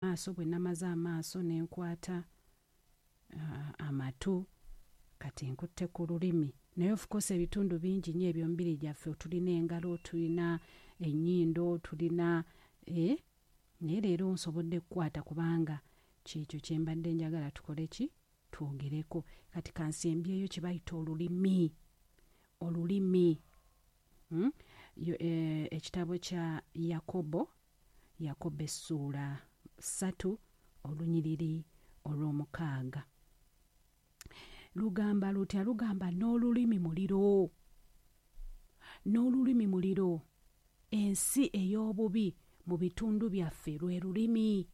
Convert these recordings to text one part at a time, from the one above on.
Maaso bwe namaze amaaso ne nkwata amatu, kati nkutte ku lulimi. Naye of course ebitundu bingi nnyo eby'omubiri gyaffe, tulina engalo, tulina ennyindo, tulina naye leero nsobodde kukwata kubanga kyekyo kye mbadde njagala tukole ki, twogereko. Kati kansembyeyo kye bayita olulimi. Olulimi, Ekitabo kya Yakobo, Yakobo essuula 3 olunyiriri olw'omukaaga. Lugamba lutya? Lugamba n'olulimi muliro. N'olulimi muliro. Ensi ey'obubi mu bitundu byaffe lwe lulimi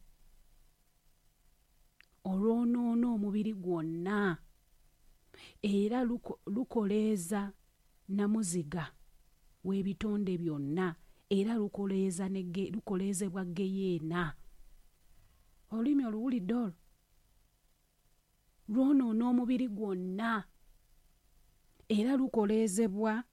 olwonoona omubiri gwonna, era lukoleeza namuziga w'ebitonde byonna, era lukoleezebwa geyeena. Olulimi oluwulidde olwo lwonoona omubiri gwonna, era lukoleezebwa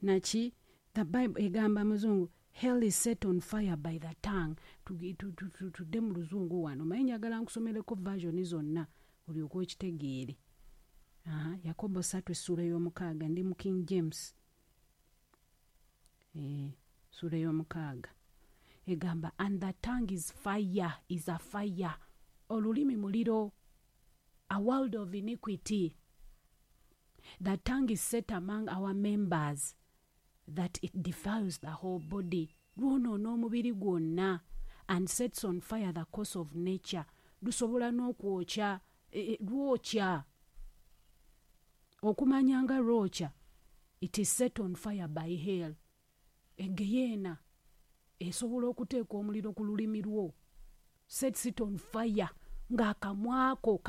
naki? The Bible egamba muzungu, hell is set on fire by the tongue. Tudde mu luzungu wano, naye njagala nkusomereko version zonna olyoke okitegeere. Yakobo 3 essuula ey'omukaaga, ndi mu King James. Essuula ey'omukaaga egamba, and the tongue is fire, is a fire. Olulimi muliro, a world of iniquity. The tongue is set among our members that it defiles the whole body. Lwonoona omubiri gwonna, and sets on fire the course of nature. Lusobola n'okwokya, lwokya. Okumanya nga lwokya, it is set on fire by hell. Egeyeena esobola okuteeka omuliro ku lulimi lwo. Sets it on fire. Ng'akamwako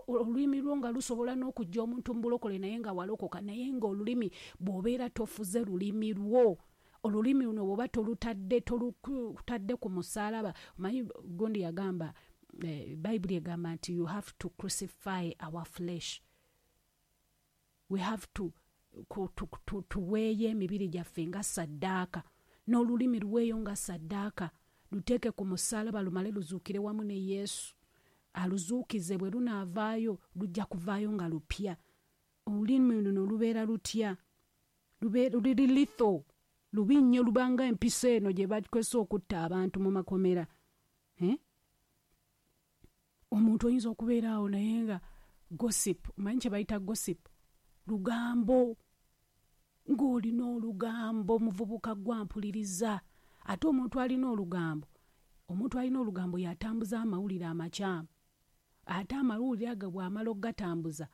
olulimi lwo nga lusobola n'okujja omuntu mu bulokole naye nga walokoka, naye ng'olulimi bw'obeera tofuze lulimi lwo, olulimi luno bw'oba tolutadde ku musaalaba. Omanyi gundi yagamba, Bayibuli egamba nti you have to crucify our flesh. We have to tuweeyo emibiri gyaffe nga ssaddaaka, n'olulimi luweeyo nga ssaddaaka, luteeke ku musaalaba lumale luzuukire wamu ne Yesu. Aluzuukize, bwe lunaavaayo lujja kuvaayo nga lupya. Olulimi luno lubeera lutya? Luli lethal, lubi nnyo, lubanga empiso eno gye bakozesa okutta abantu mu makomera. Omuntu oyinza okubeera awo naye nga gossip, omanyi kye bayita gossip? Lugambo. Ng'olina olugambo, muvubuka gwampuliriza. Ate omuntu alina olugambo, omuntu alina olugambo y'atambuza amawulire amakyamu. Ate amawulire ago bw'amala okugatambuza,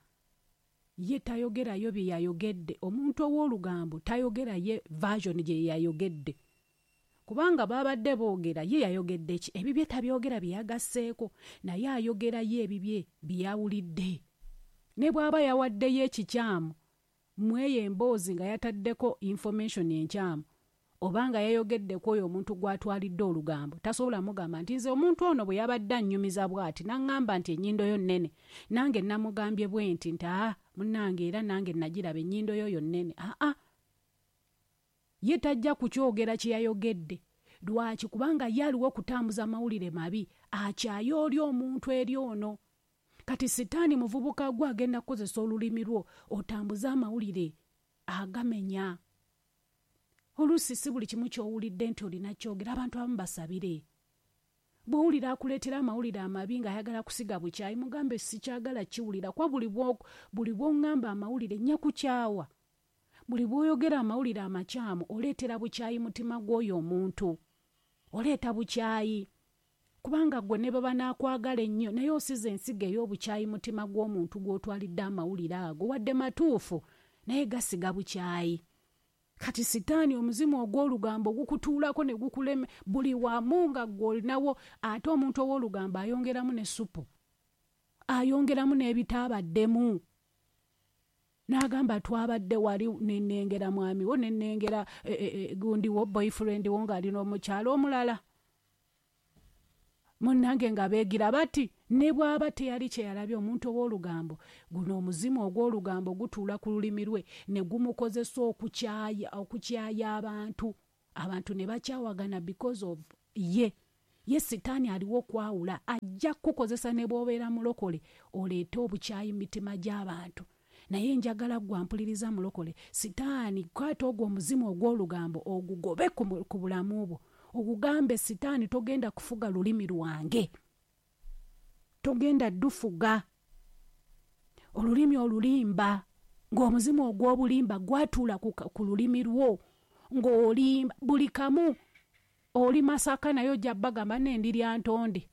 ye tayogerayo bye yayogedde. Omuntu ow'olugambo tayogera ye version gye yayogedde, kubanga babadde boogera ye yayogedde ki, ebibye tabyogera bye yagasseeko, naye ayogerayo ebibye bye yawulidde. Ne bw'aba yawaddeyo ekikyamu mweyo emboozi nga yataddeko information enkyamu, oba nga yayogeddeko oyo omuntu gw'atwalidde olugambo, tasobola mugamba nti nze omuntu ono bwe yabadde annyumiza bw'ati n'aŋŋamba nti ennyindo yo nnene, nange namugambye bwe nti nti aa munnange era nange nagiraba ennyindo yo yo nnene. Aa, ye tajja kukyogera kye yayogedde. Lwaki? Kubanga ye aliwo okutambuza amawulire mabi, akyaye oli omuntu eri ono. Kati sitaani muvubuka gwe agenda kukozesa olulimi lwo otambuze amawulire agamenya. Oluusi si buli kimu ky'owulidde nti olina kyogera, abantu abamu basabire. Bw'owulira akuleetera amawulire amabi ng'ayagala kusiga bukyayi, mugambe sikyagala kiwulira, kuba buli bw'oŋŋamba amawulire nnya kukyawa. Buli bw'oyogera amawulire amakyamu oleetera bukyayi mutima gw'oyo omuntu. Oleeta bukyayi. Kubanga ggwe ne bwe banaakwagala ennyo, naye osize ensigo ey'obukyayi mutima gw'omuntu gw'otwalidde amawulire ago, wadde matuufu, naye gasiga bukyayi. Kati sitaani omuzimu ogw'olugambo gukutuulako ne gukulema buli wamu nga ggwe olinawo. Ate omuntu ow'olugambo ayongeramu ne ssupu, ayongeramu n'ebitaabaddemu. N'agamba twabadde wali ne nnengera mwami wo, ne nnengera gundi wo, boyfriend wo ng'ali n'omukyala omulala. Munnange nga beegira bati ne bw'aba teyali kye yalabye, omuntu ow'olugambo guno omuzimu ogw'olugambo gutuula ku lulimi lwe ne gumukozesa okukyaya abantu, abantu ne bakyawagana because of ye. Ye sitaani aliwo okwawula, ajja kukukozesa ne bw'obeera mulokole oleete obukyayi mu mitima gy'abantu. Naye njagala ggwe ampuliriza mulokole, sitaani kwata ogwo omuzimu ogw'olugambo ogugobe ku bulamu bwo, ogugambe sitaani togenda kufuga lulimi lwange, togenda dufuga. Olulimi olulimba, ng'omuzimu ogw'obulimba gwatuula ku lulimi lwo, ng'olimba buli kamu. Oli Masaka naye ojja bagamba nne ndi Lyantonde,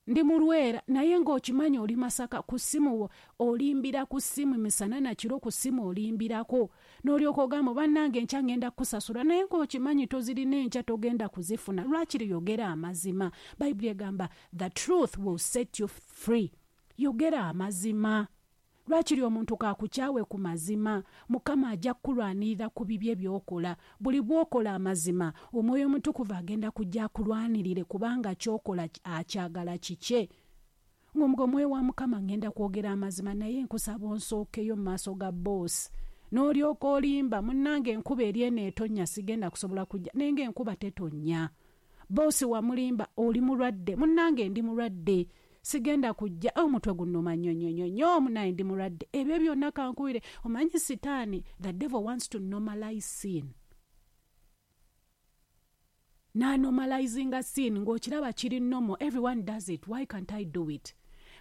ndi Mulwera, naye ng'okimanyi oli Masaka. Ku ssimu olimbira, ku ssimu misana na kiro, ku ssimu olimbirako, n'olyoka ogamba bannange enkya ngenda kukusasula, naye ng'okimanyi tozirina, enkya togenda kuzifuna. Lwakiri yogera amazima. Bayibuli egamba the truth will set you free. Yogera amazima. Lwakiri omuntu kakukyawe ku mazima, Mukama ajja kukulwanirira ku bibye by'okola. Buli bw'okola amazima, Omwoyo Omutukuvu agenda kujja akulwanirire, kubanga ky'okola akyagala kikye. Ng'omuga Omwoyo wa Mukama, ngenda kwogera amazima, naye nkusaba onsookeyo mu maaso ga boosi. N'olyoka olimba, munnange enkuba eri eno etonnya, sigenda kusobola kujja, naye ng'enkuba tetonnya. Boosi wamulimba, oli mulwadde, munnange ndi mulwadde, sigenda kujja, omutwe gunnuma nnyo nnyo nnyo nnyo, munnange ndi mulwadde. Ebyo byonna kankuwire, omanyi sitaani, the devil wants to normalize sin. N'anormalizinga sin ng'okiraba kiri normal, everyone does it, why can't I do it?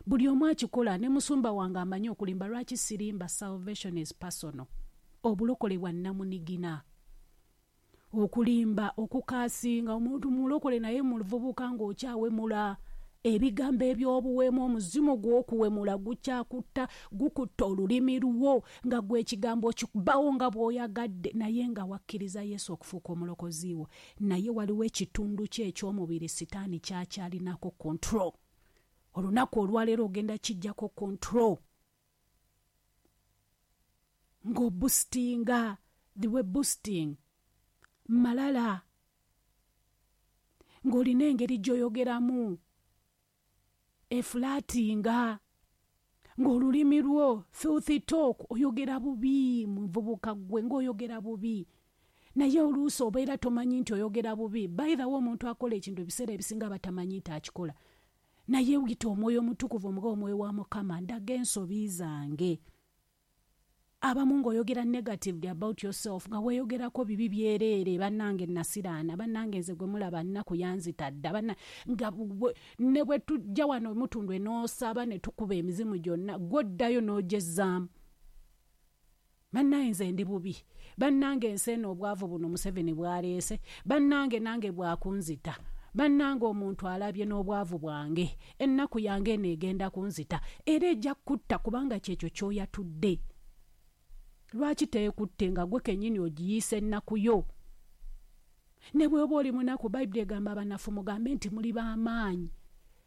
Buli omu akikola, ne musumba wange amanyi okulimba, lwaki sirimba? Salvation is personal. Obulokole bwa nnamunigina. Okulimba, okukaasinga omuntu mulokole naye muvubuka ng'okyawemula. Ebigambo eby'obuwemu, omuzimu gw'okuwemula gukyakutta, gukutta olulimi lwo, nga gwe ekigambo okikubawo nga bw'oyagadde, naye nga wakkiriza Yesu okufuuka omulokozi wo. Naye waliwo ekitundu kye eky'omubiri sitaani kyakyalinako control. Olunaku olwaleero ogenda kijjako control. Ng'oboostinga, the way boasting, malala, ng'olina engeri gy'oyogeramu eflirtinga, ng'olulimi lwo filthy talk, oyogera bubi muvubuka ggwe, ng'oyogera bubi, naye oluusi obeera tomanyi nti oyogera bubi. By the way, omuntu akola ekintu ebiseera ebisinga batamanyi nti akikola, naye yita Omwoyo Omutukuvu, omuga Omwoyo wa Mukama, ndaga ensobi zange. Abamu ng'oyogera negatively about yourself, nga weeyogerako bibi byereere, bannange nasiraana, bannange nze gwe mulaba nnaku yanzita dda, nga ne bwe tujja wano mutundwe n'osaba ne tukuba emizimu gyonna, gw'oddayo n'ogyezaamu. Bannange nze ndi bubi, bannange ensi eno obwavu buno Museveni bw'aleese, bannange nange bwakunzita, bannange omuntu alabye n'obwavu bwange, ennaku yange eno egenda kunzita, era ejja kutta kubanga kyekyo ky'oyatudde. Lwaki teekutte nga gwe kennyini ogiyiisa ennaku yo? Ne bw'oba oli munaku, Bayibuli egamba abanafu mugambe nti muli b'amaanyi.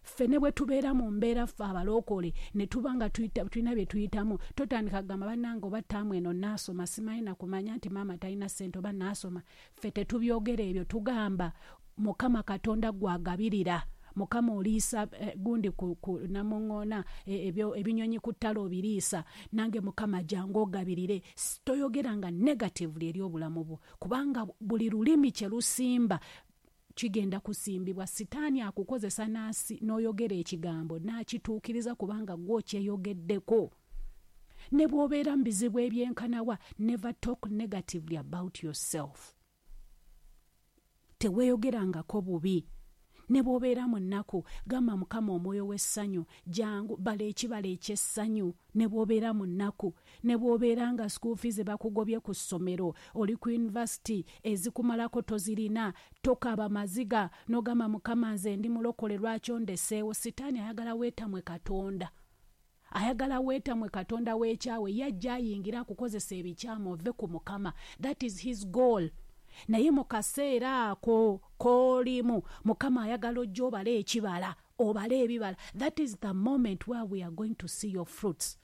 Ffe ne bwe tubeera mu mbeera, ffe abalokole, ne tuba nga tulina bye tuyitamu, totandika kugamba bannange oba ttaamu eno naasoma, simanyi na kumanya nti maama talina ssente oba naasoma. Ffe tetubyogera ebyo, tugamba Mukama Katonda gw'agabirira, Mukama oliisa gundi ku namuŋŋoona, ebyo ebinyonyi ku ttale obiriisa, nange Mukama jangu ogabirire. Toyogeranga negatively eri obulamu bwo, kubanga buli lulimi kye lusimba kigenda kusimbibwa. Sitaani akukozesa n'oyogera ekigambo n'akituukiriza kubanga ggwe okyeyogeddeko. Ne bw'obeera mu bizibu ebyenkanawa, never talk negatively about yourself. Teweeyogerangako bubi. Ne bw'obeera mu nnaku, gamba Mukama omwoyo w'essanyu, jangu bala ekibala eky'essanyu. Ne bw'obeera mu nnaku, ne bw'obeera nga school fees bakugobye ku ssomero, oli ku university ezikumalako tozirina, tokaaba maziga n'ogamba Mukama nze ndi mulokole lwaki ondeseewo. Sitaani ayagala weetamwe Katonda, ayagala weetamwe Katonda w'ekyawe, yajja ayingira akukozesa ebikyamu ove ku Mukama. That is his goal. Naye mu kaseera ako k'olimu, Mukama ayagala ojja obale ekibala, obale ebibala. That is the moment where we are going to see your fruits.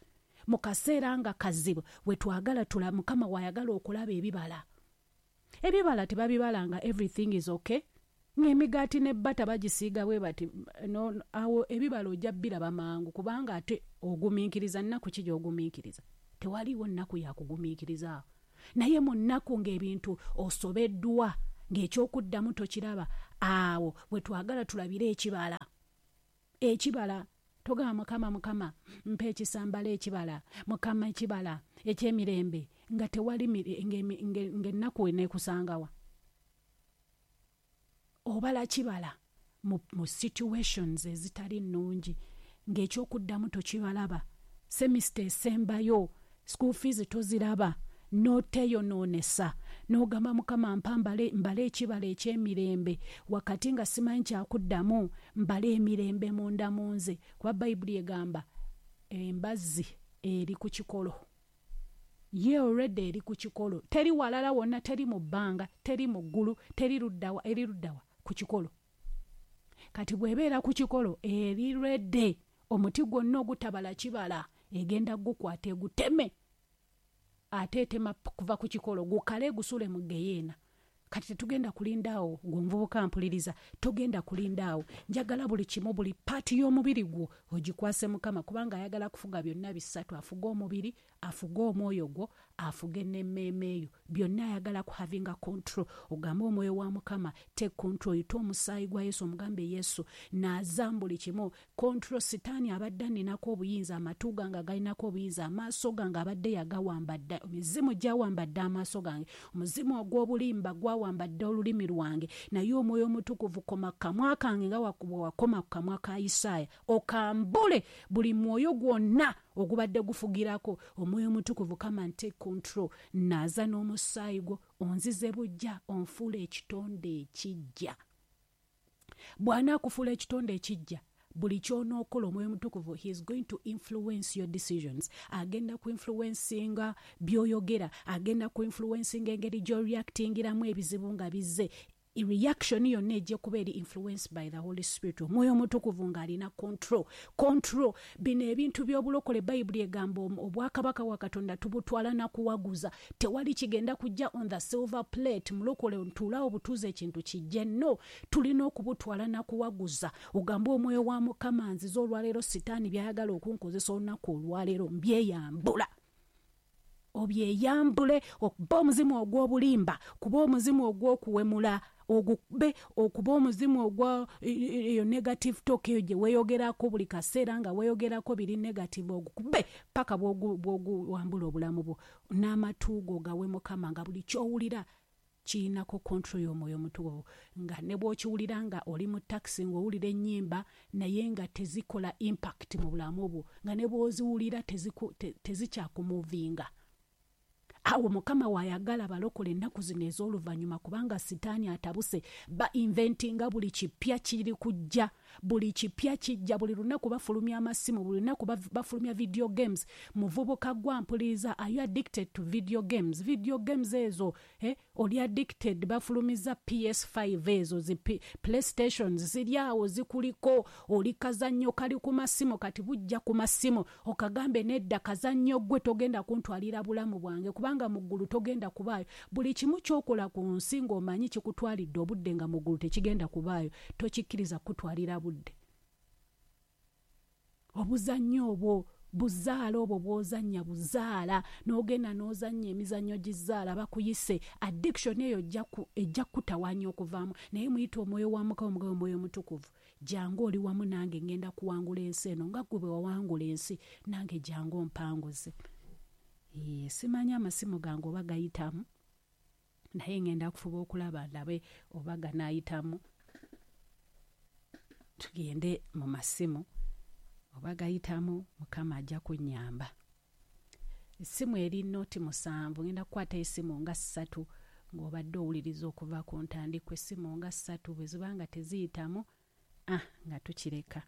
Mu kaseera nga kazibu we twagala tula, Mukama w'ayagala okulaba ebibala. Ebibala tebabibala nga everything is okay, ng'emigaati ne bbata bagisiiga bwe bati no, awo ebibala ojja biraba mangu, kubanga ate ogumiikiriza. Nnaku ki gy'ogumiikiriza? Tewaliiwo nnaku ya kugumiikiriza awo. Naye mu nnaku ng'ebintu osobeddwa, ng'ekyokuddamu tokiraba, Awo bwe twagala tulabire ekibala. Ekibala togamba Mukama, Mukama mpa ekisambala ekibala, Mukama ekibala eky'emirembe, nga tewali ng'ennaku eneekusangawa. Obala kibala mu situations ezitali nnungi, ng'ekyokuddamu tokibalaba, semester esembayo, school fees toziraba, n'oteeyonoonesa, n'ogamba Mukama mpa mbale ekibala eky'emirembe, wakati nga simanyi kyakuddamu, mbale emirembe munda mu nze. Kuba Bayibuli egamba embazzi eri ku kikolo. Ye already eri ku kikolo, teri walala wonna, teri mu bbanga, teri mu ggulu, teri luddawa, eri luddawa ku kikolo. Kati bw'ebeera ku kikolo eri ready, omuti gwonna ogutabala kibala egenda gukwata eguteme, ate etema kuva ku kikolo gukale gusule mu geyeena. Kati tetugenda kulinda awo, gwe omuvubuka mpuliriza, togenda kulinda awo. Njagala buli kimu, buli paati y'omubiri gwo ogikwase Mukama, kubanga ayagala kufuga byonna bisatu. Afuge omubiri, afuge omwoyo gwo, afuge n'emmeeme yo. Byonna ayagala ku havinga control. Ogambe omwoyo wa Mukama, take control, oyite omusaayi gwa Yesu, omugambe Yesu naaza buli kimu. Control. Sitaani abadde aninako obuyinza, amatu gange agalinako obuyinza, amaaso gange abadde yagawamba dda, emizimu gyawamba dda amaaso gange, omuzimu ogw'obulimba gwawamba dda olulimi lwange, naye omwoyo omutukuvu koma kamwa kange nga bwe wakoma ku kamwa ka Isaaya, okambule buli mwoyo gwonna ogubadde gufugirako. Omwoyo omutukuvu come and take control, naaza n'omusaayi gwo, onzize bujja, onfuule ekitonde ekijja. Bw'anaakufuula ekitonde ekijja, buli ky'onookola omwoyo omutukuvu, he is going to influence your decisions. Agenda ku influencinga by'oyogera, agenda ku influencinga engeri gy'oreactingiramu ebizibu nga bizze. Reaction yonna ejja kuba eri influenced by the Holy Spirit. Omwoyo omutukuvu ng'alina control. Control. Bino ebintu by'obulokole, Bayibuli egamba obwakabaka bwa Katonda tubutwala na kuwaguza. Tewali kigenda kujja on the silver plate. Mulokole ntuulaawo butuuze ekintu kijje. No, tulina okubutwala na kuwaguza. Ogambe omwoyo wa Mukama nzize olwaleero, sitaani by'ayagala okunkozesa olunaku olwaleero mbyeyambula. Obyeyambule, okuba omuzimu ogw'obulimba, kuba omuzimu ogw'okuwemula, ogube okuba omuzimu ogwa eyo negative talk eyo gye weeyogerako buli kaseera nga weeyogerako biri negative, ogukube paka bw'oguwambula obulamu bwo. N'amatu go gawe Mukama, nga buli ky'owulira kirinako control y'omwoyo omutukuvu, nga ne bw'okiwulira nga oli mu takisi ng'owulira ennyimba naye nga tezikola impact mu bulamu bwo, nga ne bw'oziwulira tezikyakumovinga. Awo Mukama w'ayagala balokole ennaku zino ez'oluvannyuma, kubanga sitaani atabuse, ba inventinga buli kipya kiri kujja, buli kipya kijja, buli lunaku bafulumya amasimu, buli lunaku bafulumya video games. Muvubuka gwa mpuliriza, are you addicted to video games? Video games ezo, oli addicted? Bafulumiza PS5 ezo zi PlayStations ziri awo zikuliko, oli kazannyo kali ku masimu, kati bujja ku masimu, okagambe nedda kazannyo gwe togenda kuntwalira bulamu bwange, kubanga mu ggulu togenda kubaayo. Buli kimu ky'okola ku nsi ng'omanyi kikutwalidde obudde nga mu ggulu tekigenda kubaayo, tokikkiriza kukutwalira budde. Obuzannyo obwo buzaala, obwo bw'ozannya buzaala, n'ogenda n'ozannya emizannyo gizaala, bakuyise addiction eyo ejja kukutawaanya okuvaamu. Naye muyite omwoyo wa Mukama, omugabe omwoyo omutukuvu, jangu oli wamu nange, ngenda kuwangula ensi eno nga ggwe bwe wawangula ensi, nange jangu ompanguze. Simanyi amasimu gange oba gayitamu, naye ngenda kufuba okulaba ndabe oba ganaayitamu, tugende mu masimu oba gayitamu. Mukama ajja kunnyamba. Essimu eri 07, ngenda kukwata essimu nga 3 ng'obadde owuliriza okuva ku ntandikwa. Essimu nga 3 bwe ziba nga teziyitamu, nga tukireka.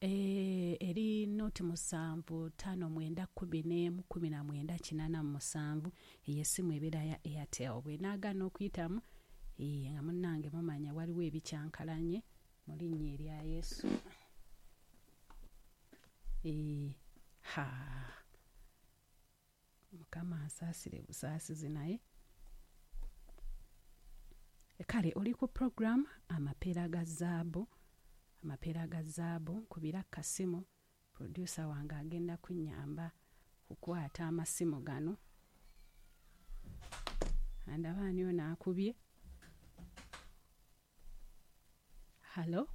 Eri 07 59 11 19 87, eyo essimu ebeera ya Airtel. Bw'enaagaana okuyitamu, nga munnange mumanya waliwo ebikyankalanye mu linnya erya Yesu. Ha, Mukama ansaasire busaasizi. Naye kale oli ku program Amapeera ga Zaabu, Amapeera ga Zaabu. Nkubira kasimu, producer wange agenda kunnyamba kukwata amasimu gano. Andaba ani ono akubye? Halo,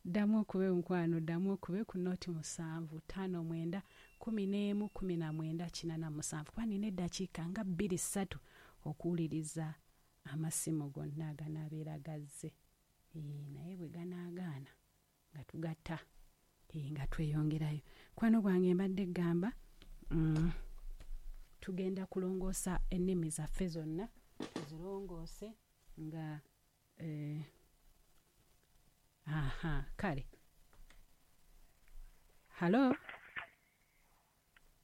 ddamu okube mukwano, ddamu okube ku 0 7 5 9 11 19 87, kuba nina eddakiika nga 2 3 okuwuliriza amasimu gonna aganaabeera gazze. Naye bwe ganaagaana nga tugatta, nga tweyongerayo. Kwano gwange mbadde gamba tugenda kulongoosa ennimi zaffe zonna, tuzirongoose nga aha. Kale, halo.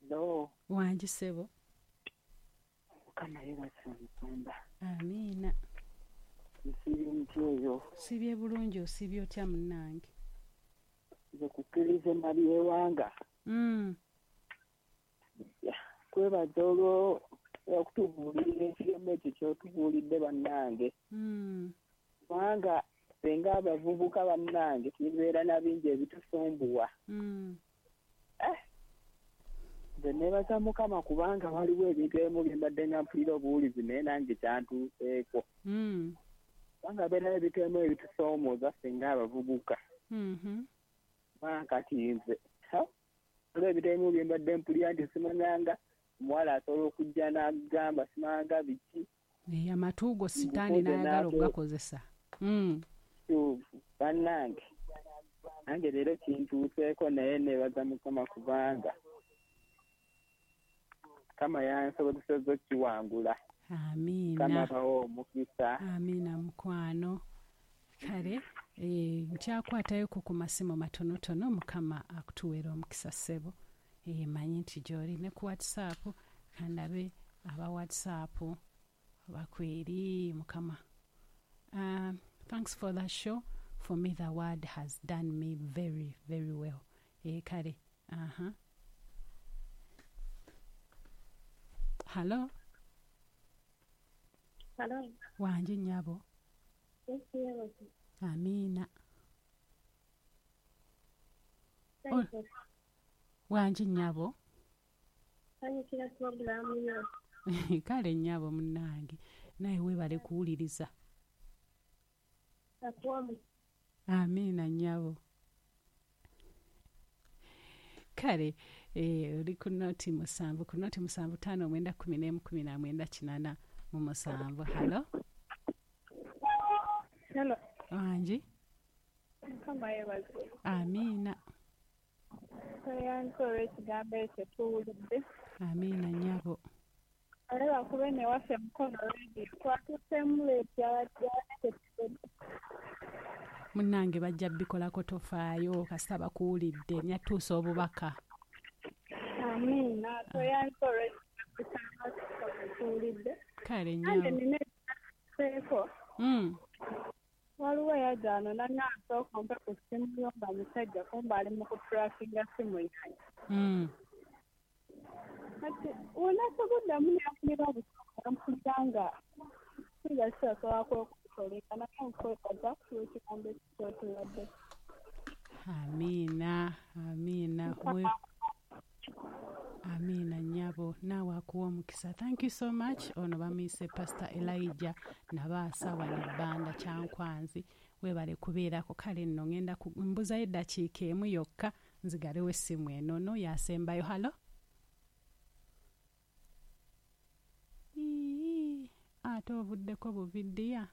Hello. Wangi ssebo. Mukama yeebazibwe, omusumba. Amiina. Nsiibye mutya eyo? Siibye bulungi, osiibye otya munnange? Nze kukkiriza Nabyewanga. Kwebaza olwo okutubuulirira ekigambo ekyo ky'otubuulidde bannange. Kubanga ffe ng'abavubuka bannange tubeera na bingi ebitusumbuwa. Nze neebaza Mukama kubanga waliwo ebintu ebimu bye mbadde nga mpulira obuwulizi naye nange kyantuuseeko. Kubanga beerayo ebintu ebimu ebitusoomooza ffe ng'abavubuka. Kubanga kati nze waliwo ebintu ebimu bye mbadde mpulira nti simanyanga omuwala asobola okujja n'agamba simanyanga biki. Amatu go sitaani n'ayagala okugakozesa. Kituufu bannange, nange leero kintuuseeko naye neebaza Mukama kubanga Mukama yansobozesezza okkiwangula. Amiina. Mukama abawe omukisa. Amiina mukwano. Kale nkyakwatayoko ku masimu matonotono. Mukama akutuweera omukisa ssebo. Manyi nti gy'oli ne ku WhatsApp, kandabe aba WhatsApp bakweri. Mukama. Thanks for the show. For me the word has done me very very well. Kale, aha, halo. Hello. Wangi nnyabo. Yesu yeebazibwe. Amiina. Wangi nnyabo. Sanyukira pulogulaamu yo. Kale nnyabo munnange, naye weebale kuwuliriza. Akuwa omukisa. Amiina nnyabo. Kale oli ku 07, ku 07 5 9 11 19 87. Halo. Hello. Wangi. Mukama yeebazibwe. Amiina. Tweyanze olw'ekigambo ekyo tuwulidde. Amiina nnyabo. Ale bakube ne waffe Mukono Radio twatuuseemu late, yabadde tetusobodde. Munnange bajja bikolako, tofaayo kasita bakuwulidde nyatuusa obubaka. Amiina, tweyanze olw'ekigambo kya tuwulidde. Kale Nange nnyabo. nina ekyaseeko. Waliwo eyajja wano n'aŋŋamba sooka ompe ku ssimu yo, nga musajja, kumbe ali mu kutrackinga ssimu yange. Kati wenasoboddamu ne mpulira obusungu, mpulira nga mpulira sisobola kwekontrolinga, naye nkwebaza olw'ekigambo ekyo ky'otuwadde. Amiina, amiina. Amiina nnyabo, naawe akuwa omukisa. Thank you so much. Ono bamuyise Pastor Elijah Nabaasa wano ebbanda Kyankwanzi, weebale kubeerako. Kale nno ŋŋenda mbuzayo eddakiika emu yokka nzigalewo essimu eno no yasembayo. Halo. Ii, ate ovuddeko buvidiya.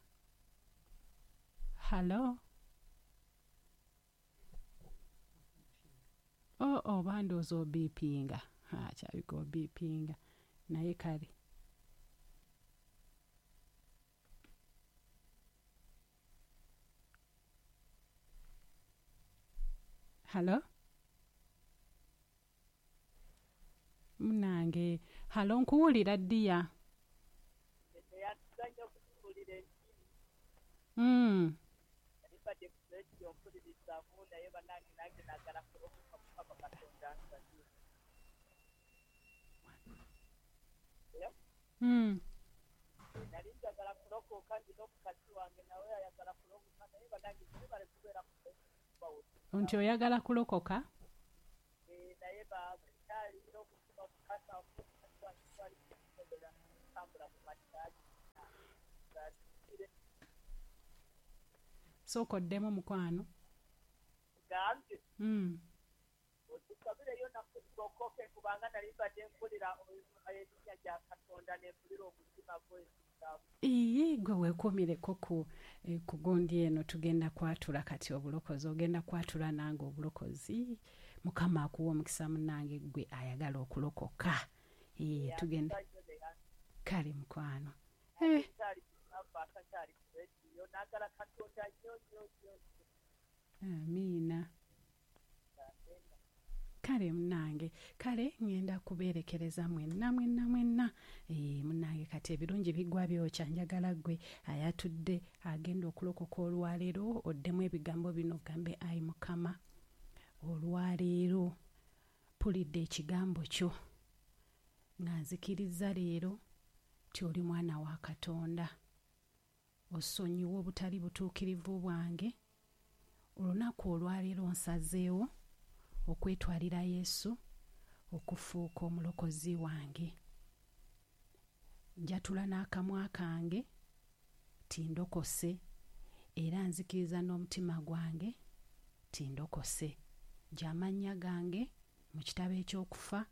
Halo. Oh, oba ndowooza obiipinga. Kyabika obiipinga naye kale. Halo munange, halo, nkuwulira ddiya. Neyanziza nnyo okutubuulira enjiri. Nali ku rediyo mpulirizaamu, naye bannange nange naagala kulokoka, Mukama Katonda ansanyuse. Nali njagala kulokoka, ndina omukazi wange nawe ayagala kulokoka, naye bannange mwebale kubeera ku Nti oyagala kulokoka? Naye baaba kyalina omutima omukakafu, omukazi wange twali tusobola kutambula mu makyali. Sooka oddemu mukwano. Gambye. Otusabireyo naffe tulokoke kubanga nali mbadde mpulira erinnya lya Katonda ne mpulira omutima gw'ekitabo. Iye gwe weekuumireko ku ku gundi eno tugenda kwatula kati obulokozi ogenda kwatula nange obulokozi. Mukama akuwa omukisa munnange gwe ayagala okulokoka. Tugenda kale mukwano. Amiina. Kale munnange, kale ŋŋenda kubeerekereza mwenna mwenna mwenna. Munnange kati ebirungi biggwa byokya, njagala ggwe ayatudde agenda okulokoka olwaleero oddemu ebigambo bino ogambe ayi Mukama olwaleero mpulidde ekigambo kyo nga nzikirizza leero nti oli mwana wa Katonda. Osonyiwe obutali butuukirivu bwange. Olunaku olwaleero nsazeewo okwetwalira Yesu okufuuka omulokozi wange. Njatula n'akamwa kange nti ndokose era nzikiriza n'omutima gwange nti ndokose. Ggya amannya gange mu kitabo eky'okufa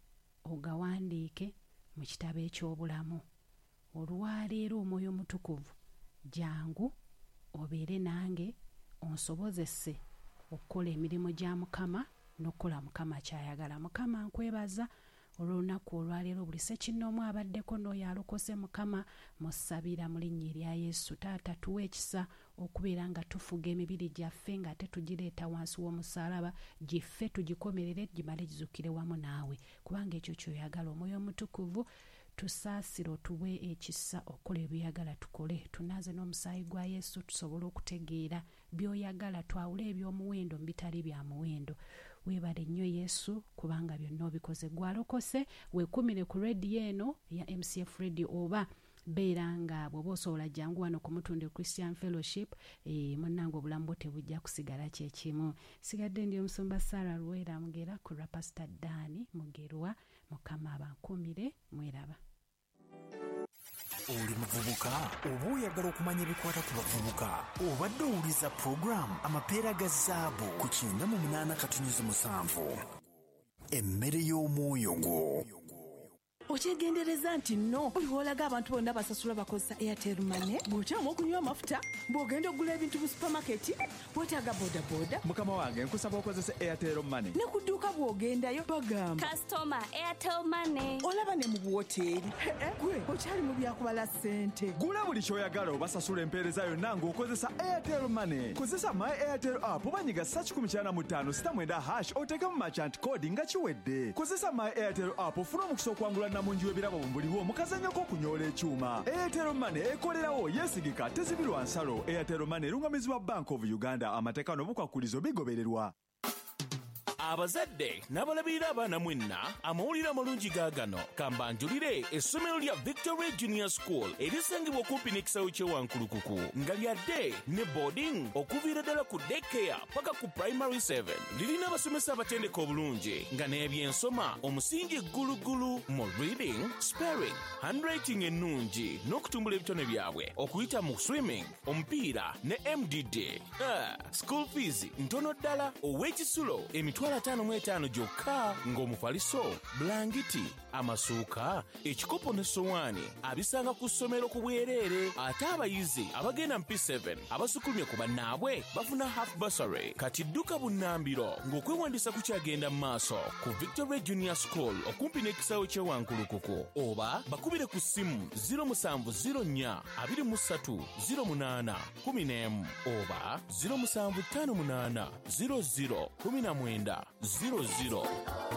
ogawandiike mu kitabo eky'obulamu. Olwaleero Omwoyo Omutukuvu jangu obeere nange onsobozese okukola emirimu gya Mukama n'okukola Mukama ky'ayagala. Mukama nkwebaza olw'olunaku olwaleero buli ssekinnoomu abaddeko n'oyo alokose Mukama musabira mu linnya erya Yesu. Taata tuwe ekisa okubeera nga tufuga emibiri gyaffe ng'ate tugireeta wansi w'omusaalaba gife tugikomerere gimale gizukire wamu naawe kubanga ekyo ky'oyagala. Omwoyo Omutukuvu tusaasire otuwe ekisa okukola ebyoyagala tukole. Tunaaze n'omusaayi gwa Yesu tusobole okutegeera by'oyagala twawule eby'omuwendo mu bitali bya muwendo. Weebale nnyo Yesu kubanga byonna obikoze. Ggwe alokose weekuumire ku radio eno eya MCF Radio oba beera nga bw'oba osobola jangu wano ku Mutundwe Christian Fellowship. Munnange obulamu bwo tebujja kusigala kye kimu. Nsigadde ndi omusumba Sarah Luweera Mugera ku lwa Pastor Dan Mugerwa. Mukama abankuumire mweraba. Oli muvubuka oba oyagala okumanya ebikwata ku bavubuka? Obadde owuliza pulogulaamu Amapeera ga Zaabu ku 98.7, emmere y'omwoyo gwo. Okyegendereza nti nno buli w'olaga abantu bonna basasula bakozesa Airtel Money, bw'okyama okunywa amafuta, bw'ogenda okugula ebintu mu supamaketi, weetaaga bodaboda. Mukama wange nkusaba okozese Airtel Money. Ne ku dduuka bw'ogendayo bagamba Customer Airtel Money. Olaba ne mu buwoteeri. Gwe okyali mu byakubala ssente. Gula buli ky'oyagala oba sasula empeereza yonna ng'okozesa Airtel Money. Kozesa My Airtel app oba nyiga star 195 star 9 hash oteekemu merchant code nga kiwedde. Kozesa My Airtel app ofune omukisa okuwangula namungi w'ebirabo mu buliwo mu kazannyo k'okunyoola ekyuma. Airtel Money ekolerawo, yeesigika, tezibirwa nsalo. Airtel Money erungamizibwa Bank of Uganda. Amateeka n'obukwakkulizo bigobererwa. Abazadde n'abalabirira abaana mwenna, amawulire amalungi gaagano. Ka mbanjulire essomero lya Victory Junior School erisangibwa okumpi n'ekisaawe ky'e Wankulukuku nga lya day ne boarding okuviira ddala ku day care paka ku primary 7. Lirina abasomesa abatendeke obulungi nga n'ebyensoma omusingi ggulugulu mu reading, spelling, handwriting ennungi n'okutumbula ebitone byabwe okuyita mu swimming, omupiira ne MDD. School fees ntono ddala ow'ekisulo emitwalo 55 gyokka ng'omufaliso, bulangiti, amasuuka, ekikopo n'essowaani abisanga ku ssomero ku bwereere ate abayizi abagenda mu P7 abasukkulumye ku bannaabwe bafuna half bursary. Kati dduka bunnambiro ng'okwewandiisa kukyagenda mu maaso ku Victory Junior School okumpi n'ekisaawe ky'e Wankulukuku oba bakubire ku ssimu 0704 23 08 11 oba 0758 00 19 00.